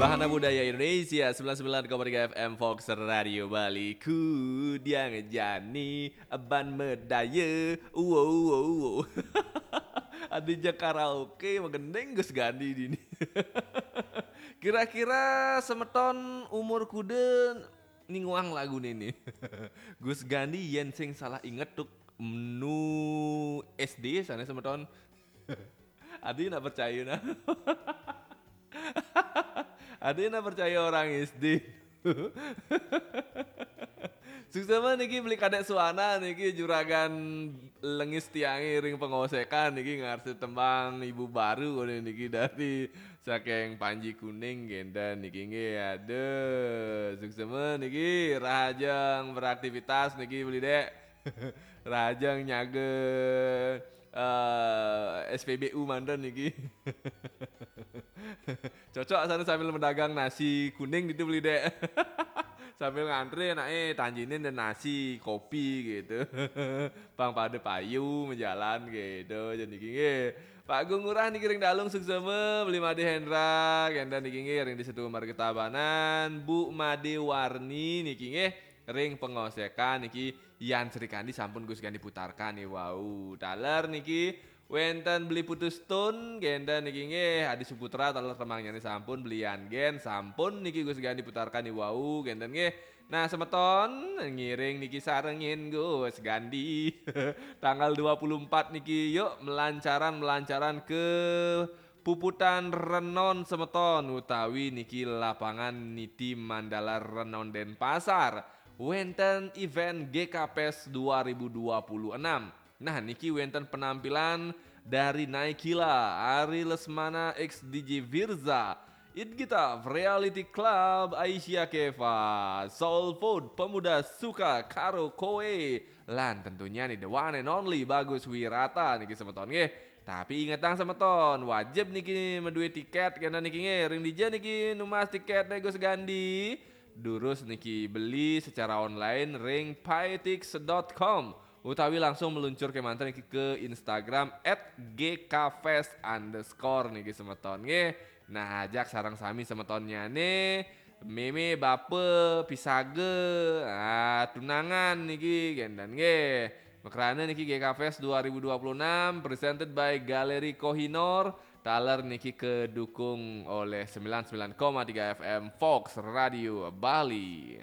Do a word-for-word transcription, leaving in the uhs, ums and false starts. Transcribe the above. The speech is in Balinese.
Bahana Budaya Indonesia, sembilan sembilan koma tiga F M Fox Radio Bali. Ku diang jani ban medaya. Uwo, uwo, uwo. Adi ja karaoke, magendeng Gus Gandi dini. Kira-kira semeton umur kuda ninguang lagu nini. Gus Gandi yen sing salah inget tuk nu S D sana semeton. Adi nak percaya nah. Adi nak percaya orang S D. Suksema niki beli kadek suana niki juragan lengis tiangi ring pengosekan niki ngarsi tembang ibu baru kone niki dari saking Panji Kuning genda niki nggih. Aduh, suksema niki rahajeng beraktivitas niki beli dek. Rahajeng nyaga eh, S P B U manten niki. Cocok sana sambil mendagang nasi kuning gitu beli dek. Sambil ngantri enak eh tanjinin dan nasi kopi gitu. Pang pada payu menjalan gitu jadi nggih. Pak Gung Ngurah niki ring Dalung suksema beli Made Hendra genda niki nggih ring di Setu Marga Tabanan Bu Made Warni niki nggih ring pengosekan niki Yan Sri Kandi sampun Gus Gandi putarkan nih wau taler niki wenten beli putus tun genda niki nggih Adi Suputra taler temangnya nih sampun beli Yan Gen sampun niki Gus Gandi putarkan nih wau genten nggih. Nah semeton ngiring niki sarengin Gus Gandi tanggal dua puluh empat niki yuk melancaran melancaran ke puputan Renon semeton utawi niki lapangan Niti Mandala Renon Denpasar wenten event G K Fest dua ribu dua puluh enam. Nah niki wenten penampilan dari Naikila, Ari Lesmana X D J Virza, Idgita, Reality Club, Aisyah Keva, Soul Food, Pemuda Suka, Karo Koe, lan tentunya nih the one and only Bagus Wirata niki semeton nggih. Tapi ingetang semeton, wajib niki medue tiket karena niki nggih ring dija niki numas tiket nego segandi. Durus niki beli secara online ring paetix dot com utawi langsung meluncur ke manten niki ke Instagram at G K fest underscore niki semeton nggih. Nah, ajak sareng sami semetonnya nih. Meme, bape, pisage, ah, tunangan niki gendan nggih. Mekrana niki G K Fest dua ribu dua puluh enam presented by Galeri Kohinoor. Taler niki kedukung oleh sembilan sembilan koma tiga F M Fox Radio Bali.